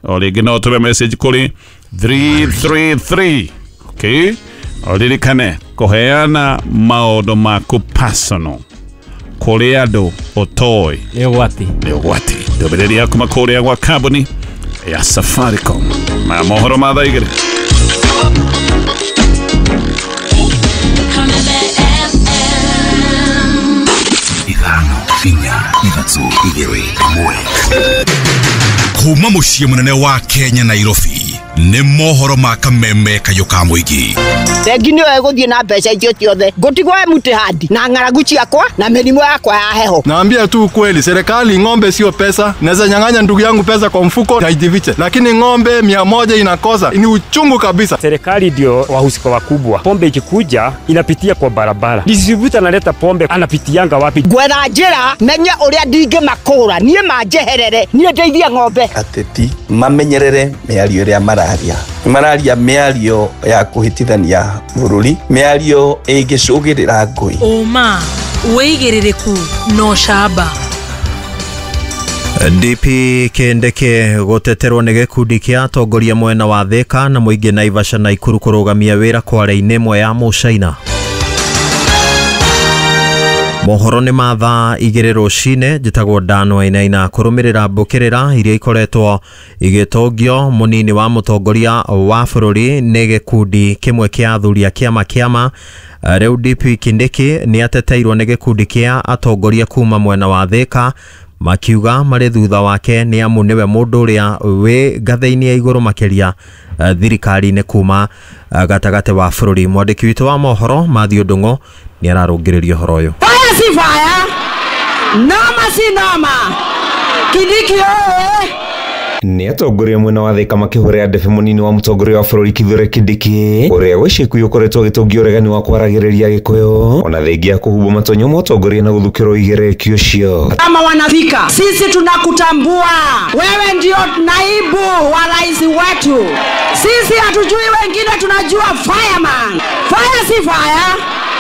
O rĩngĩ no ũtũme message kũrĩ 333. Okay, ũririkane kũheana maũndũ maku personal kũrĩ andũ ũtoĩ nĩ ũgwati. Nĩ ũgwati. Ndũmĩrĩri ya kuma kũrĩa gwa kambuni ya Safaricom. Maya mohoro ma thaa 2. 5 4 3 2 1. Kuma muciĩ mũnene wa Kenya Nairobi nĩ mohoro ma kameme kayũ ka mũingĩ. Bengi nĩyo ĩgũthiĩ na mbeca icio ciothe, ngũtigwo empty hand na ng'aragu ciakwa na mĩrimũ yakwa ya heho. Naambia tu ukweli, serikali ng'ombe sio pesa. Naweza nyang'anya ndugu yangu pesa kwa mfuko haijifiche, lakini ng'ombe 100 inakosa, ni uchungu kabisa. Serikali ndio wahusika wakubwa. Pombe ikikuja inapitia kwa barabara, distributor analeta pombe anapitianga wapi? Ngwetha njĩra menye ũrĩa ndingĩmakũra niĩ manjeherere, niĩ ndeithie ng'ombe. Ateti mamenyerere mĩario ĩrĩa mararia. Mararia mĩario ya kũhĩtithania bũrũri, mĩario ĩngĩcũgĩrĩra ngũĩ. Ũma wĩigĩrĩrĩku no camba. DP Kindiki gũteterwo nĩ gĩkundi kĩa atongoria mwena wa Thika na mũingĩ Naivasha na Nakuru kũrũgamia wĩra kware-inĩ ĩmwe ya Mũcaina. Mohoro nĩ ma thaa 2 rũcinĩ. Njĩtagwo Dan Wainaina. Kũrũmĩrĩra mbũkĩrĩra iria ikoretwo igĩtongio mũnini wa mũtongoria wa bũrũri nĩ gĩkundi kĩmwe kĩa athuri a kĩama kĩama. Rĩu DP Kindiki nĩ ateteirwo nĩ gĩkundi kĩa atongoria kuma mwena wa Thika makiuga marĩ thutha wake nĩ amu nĩwe mũndũ ũrĩa wĩ ngathĩ-inĩ ya igũrũ makĩria thirikari-inĩ kuma gatagatĩ wa bũrũri. Mwandĩki witũ wa mohoro Matthew Ndung'o nĩ ararũngĩrĩria ũhoro ũyũ. Fire si fire, noma si noma, Kindiki oe. Nĩ atongoria mwena wa Thika makĩhũrĩra ndebe mũnini wa mũtongoria wa bũrũri Kithure Kindiki ũrĩa gwa ica ikuhĩ ũkoretwo agĩtongia ũregani wa kwaragĩrĩria Gĩkũyũ ona thengia ya kũhumbwo matonyo ma ũtongoria na gũthukĩrwo igerekio ũcio. Kama wanathika, sisi tunakutambua wewe, ndio naibu wa rais wetu. Sisi hatujui wengine, tunajua fireman. Fire si fire,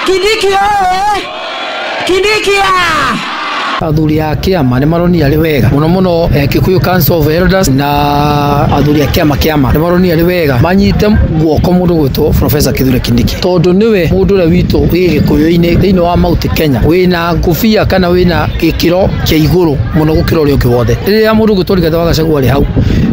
Kindiki oe, Kindiki ya. Athuri a kĩama nĩ maronire arĩ wega mũno mũno, Kikuyu Council of Elders na athuri a kĩama kĩama nĩ maronire arĩ wega manyite guoko mũndũ gwĩtwo Professor Kithure Kindiki, tondũ nĩwe mũndũ ũrĩa witũ wĩ Gĩkũyũ-inĩ thĩinĩ wa Mount Kenya wĩna ngũbia kana wĩna gĩkĩro kĩa igũrũ mũno gũkĩra ũrĩa ũngĩ wothe. Rĩrĩa mũndũ gwĩtwo Rigathĩ wa Gachagua arĩ hau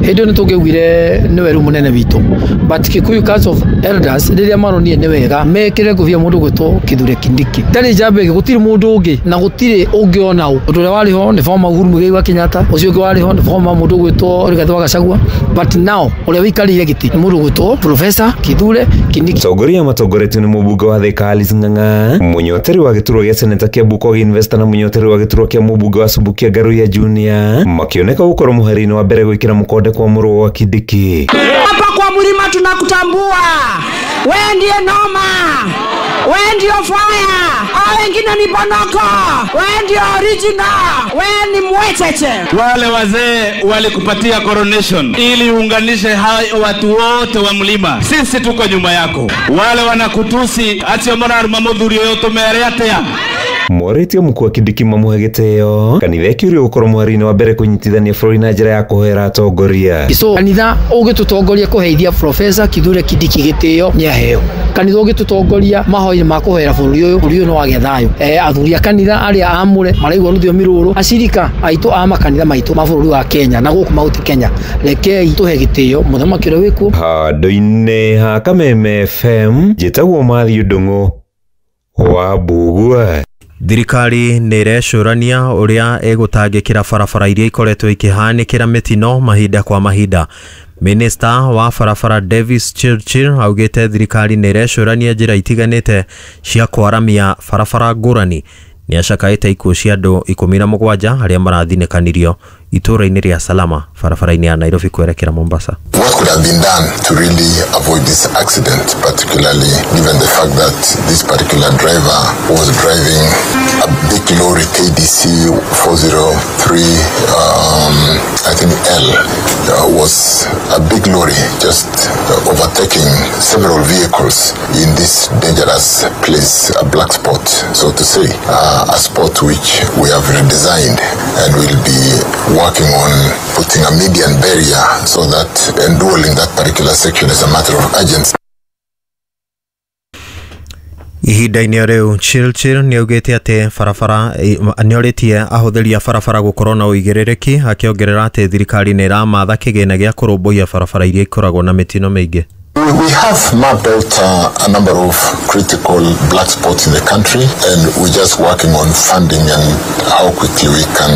hĩndĩ ĩyo nĩ tũngĩaugire nĩwe rĩu mũnene witũ, but Kikuyu Council of Elders rĩrĩa maronire nĩ wega mekĩre ngũbia mũndũ gwĩtwo Kithure Kindiki. Ndarĩ njamba ĩngĩ, gũtirĩ mũndũ ũngĩ na gũtirĩ ũngĩ ona ũ. Ũndũ ũrĩa warĩ ho nĩ former Uhuru Muigai wa Kenyatta, ũcio ũngĩ warĩ ho nĩ former mũndũ gwĩtwo Rigathĩ wa Gachagua, but now ũrĩa wĩikarĩire gĩtĩ nĩ mũndũ gwĩtwo Professor Kithure Kindiki. Atongoria matongoretio nĩ mũmbunge wa Thika Alice Ng'ang'a, mũnyoteri wa gĩturwa gĩa seneta kĩa Bukogi Investor na mũnyoteri wa gĩturwa kĩa mũmbunge wa Subukia Ngaruiya Junior makĩoneka gũkorwo mũhari-inĩ wa mbere gwĩkĩra mũkonde kwa mũrũ wa Kindiki. Hapa kwa mlima tunakutambua, wewe ndiye noma, wewe ndio fire, hao wengine ni bonoko, wewe ndio original, wewe ni mwecheche. Wale wazee walikupatia coronation ili uunganishe hao watu wote wa mlima, sisi tuko nyuma yako. Wale wanakutusi acio mararuma muthuri uyu tumere atia. Morĩtio mũkuu wa Kindiki mamũhe gĩtĩo kanitha ĩkĩũrio gũkorwo mũhari-inĩ wa mbere kũnyitithania bũrũri na njĩra ya kũhoera atongoria. So kanitha ũngĩtũtongoria kũheithia Professor Kithure Kindiki gĩtĩo nĩ aheo. Kanitha ũngĩtũtongoria mahoya ma kũhoera bũrũri ũyũ, bũrũri ũyũ no wagĩa thayũ. Athuri a kanitha arĩa aamũre maraigua rũthiomi rũrũ, acirika aitũ a makanitha maitũ ma bũrũri wa Kenya na gũkũ Mount Kenya, rekei tũhe gĩtĩo mũthamaki ũrĩa wĩkuo. Handũ-inĩ ha Kameme FM, njĩtagwo Matthew Ndung'u wa Mbugua. Thirikari nĩ ĩrecũrania ũrĩa ĩgũtangĩkĩra barabara iria ikoretwo ikĩhanĩkĩra mĩtino mahinda kwa mahinda. Minista wa barabara Davis Chirchir augĩte thirikari nĩ ĩrecũrania njĩra itiganĩte cia kwaramia barabara ngũrani. Nĩ acakaĩte ikuũ cia andũ 17 arĩa marathinĩkanirio itũũra-inĩ rĩa Salama barabara-inĩ ya Nairobi kwerekera Mombasa. What could have been done to really avoid this accident, particularly given the fact that this particular driver was driving a big lorry KDC 403, I think L, was a big lorry just overtaking several vehicles in this dangerous place, a black spot, so to say, a spot which we have redesigned and will be working on putting a median barrier so that enduring that particular section is a matter of urgency. Ihinda-inĩ rĩu Chirchir nĩaugĩte atĩ barabara nĩorĩtie ahũthĩri a barabara gũkorwo na ũigĩrĩrĩki, akĩongerera atĩ thirikari nĩ ĩramatha kĩgĩna gĩa kũrũmbũiya barabara iria ikoragwo na mĩtino mĩingĩ. We have mapped out a number of critical black spots in the country, and we're just working on funding and how quickly we can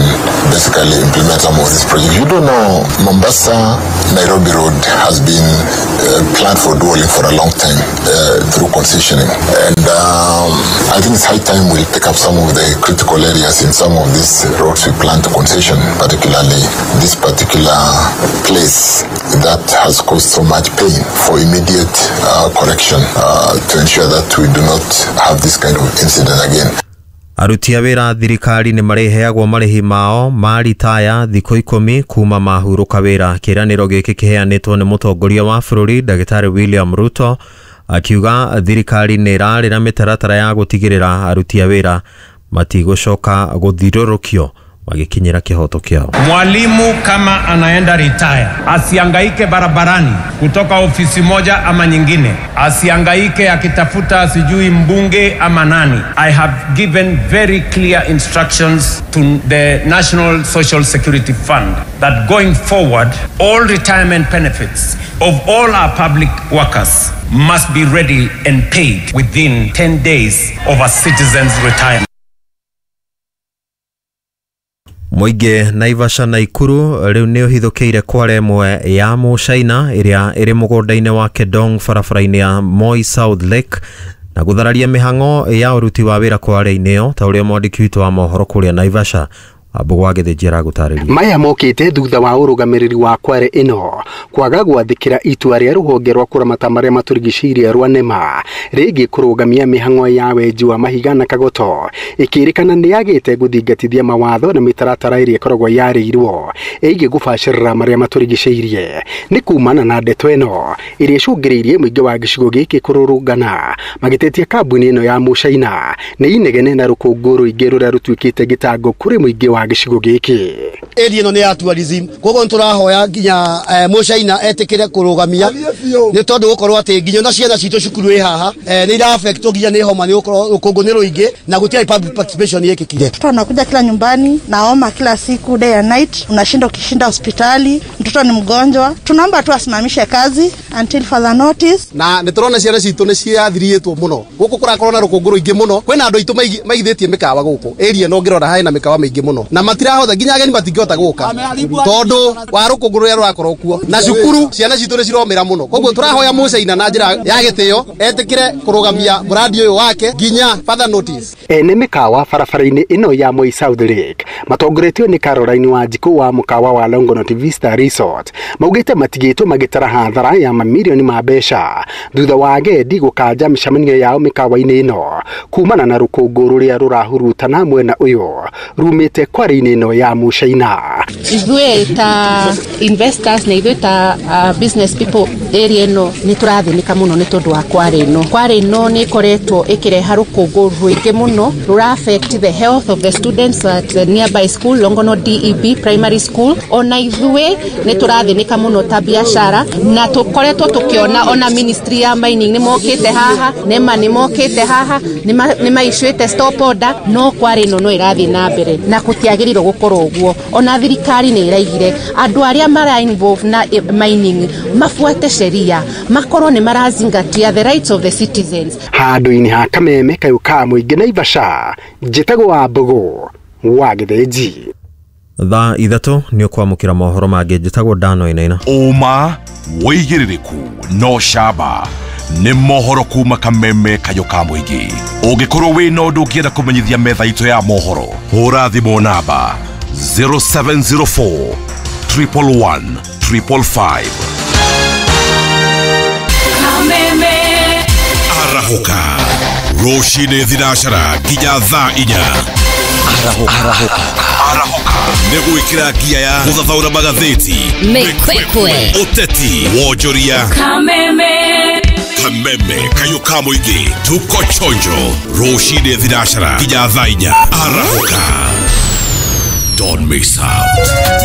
basically implement some of these projects. You don't know, Mombasa Nairobi Road has been planned for dualling for a long time through concessioning, and I think it's high time we pick up some of the critical areas in some of these roads we plan to concession, particularly this particular place that has caused so much pain, for immediate correction to ensure that we do not have this kind of incident again. Aruti a wĩra thirikari nĩ marĩheagwo marĩhi mao ma ritaya thikũ 10 kuma mahurũka wĩra. Kĩĩranĩro gĩkĩ kĩheanĩtwo nĩ mũtongoria wa bũrũri Ndagĩtarĩ William Ruto, akiuga thirikari nĩ ĩrarĩra mĩtaratara ya gũtigĩrĩra aruti a wĩra matigũcoka gũthirũrũkio magĩkinyĩra kĩhoto kĩao. Mwalimu kama anaenda retire asiangaike barabarani kutoka ofisi moja ama nyingine, asiangaike akitafuta sijui mbunge ama nani. I have given very clear instructions to the National Social Security Fund that going forward all retirement benefits of all our public workers must be ready and paid within 10 days of a citizen's retirement. Mũingĩ Naivasha na Ikuru rĩu nĩ ũhithũkĩire kware ĩmwe ya Mũcaina ĩrĩa ĩrĩ mũgũnda-inĩ wa Kedong barabara-inĩ ya Moi South Lake na gũthararia mĩhang'o ya ũruti wa wĩra kware-inĩ ĩyo, ta ũrĩa mwandĩki witũ wa mohoro kũrĩa Naivasha Wambũgũ wa Gĩthĩnji aragũtarĩria. Maya mokĩte thutha wa ũrũgamĩrĩri wa kware ĩno kwaga gwathĩkĩra itua rĩa rũhonge rwa kũramata marĩa matũrigicĩirie rwa NEMA rĩngĩ kũrũgamia mĩhang'o ya wenji wa mahiga na kagoto, ĩkĩrĩkana nĩ yagĩte gũthingatithia mawatho na mĩtaratara ĩrĩa ĩkoragwo yarĩirwo ĩgiĩ gũbacĩrĩra marĩa matũrigicĩirie. Nĩ kumana na ndeto ĩno ĩrĩa ĩcũngĩrĩirie mũingĩ wa gĩcigo gĩkĩ kũrũrũngana magĩtetia kambuni ĩno ya Mũcaina nĩ inegene na rũkũngũ rũingĩ rũrĩa rũtuĩkĩte gĩtango kũrĩ mũingĩ wa gĩcigo gĩkĩ. Area ĩno nĩ ya tourism, koguo nĩtũrahoya nginya Mũcaina etĩkĩre kũrũgamia nĩ tondũ gũkorwo atĩ nginya na ciana citũ cukuru ĩ haha nĩ ira affect nginya nĩ homa, nĩ gũkorwo rũkũngũ nĩ rũingĩ na gũtirĩ public participation yekĩkire. Mtoto anakuja kila nyumbani na homa kila siku, day and night, unashinda ukishinda hospitali, mtoto ni mgonjwa. Tunaomba tu asimamishe kazi until further notice. Na nĩtũrona ciana citũ nĩ ciathirĩtwo mũno gũkũ, kũrakorwo na rũkũngũ rũingĩ mũno, kwĩna andũ aitũ maigithĩtie mĩkawa gũkũ area ĩno, ũngĩrora hena mĩkawa mĩingĩ mũno na matirahota nginya ageni matingĩhota gũka tondũ wa rũkũngũ rũrĩa rũrakorwo kuo, na cukuru ciana citũ nĩ ciromĩra mũno. Koguo tũrahoya Mũcaina na njĩra ya gĩtĩo etĩkĩre kũrũgamia mũrandi ũyũ wake nginya further notice. Ene mĩkawa barabara-inĩ ĩno ya Moi South Lake matongoretio nĩ Caroline Wanjikũ wa mũkawa wa Longonot Vista Resort maugĩte matigĩtwo magĩtara hathara ya mamirioni ma mbeca thutha wa agendi gũkanja mĩcemanio yao mĩkawa-inĩ ĩno kumana na rũkũngũ rũrĩa rũrahurutana mwena ũyũ rumĩte kware-inĩ ĩno ya Mũcaina. Ithuĩ ta investors na ithuĩ ta business people area ĩno nĩ tũrathĩnĩka mũno nĩ tondũ wa kware ĩno. Kware ĩno nĩ ĩkoretwo ĩkĩreha rũkũngũ rũingĩ mũno rũra affect the health of the students at the nearby school, Longonot DEB Primary School. Ona ithuĩ nĩ tũrathĩnĩka mũno ta biacara, na tũkoretwo tũkĩona ona ministry ya mining nĩ mokĩte haha, NEMA nĩ mokĩte haha, nĩ maicũĩte stop order, no kware ĩno no ĩrathiĩ na mbere na gũtiagĩrĩirwo gũkorwo ũguo. Ona thirikari nĩ ĩraigire andũ arĩa mara involve na mining mafuate sheria, makorwo nĩ marazingatia the rights of the citizens. Handũ-inĩ ha kameme kayũ ka mũingĩ Naivasha, njĩtagwo Wambũgũ wa Gĩthĩnji. Thaa 3 nĩ ũkwamũkĩra mohoro mangĩ. Njĩtagwo Dano Inaina. Ũma wĩigĩrĩrĩku no camba nĩ mohoro kuma kameme kayũ ka mũingĩ. Ũngĩkorwo wĩna ũndũ ũngĩenda kũmenyithia metha itũ ya mohoro, hũra thimũ namba 0704 111 555. Arahũka rũcinĩ thinacara nginya thaa 4. Arahũka nĩ gwĩkĩra ngia ya gũthathaũra magathĩti, Mĩkwekwe. Ũteti, wonjoria, Kameme. Kameme kayũ ka mũingĩ. Tuko chonjo rũcinĩ thinacara nginya thaa 4. Arahũka, don't miss out.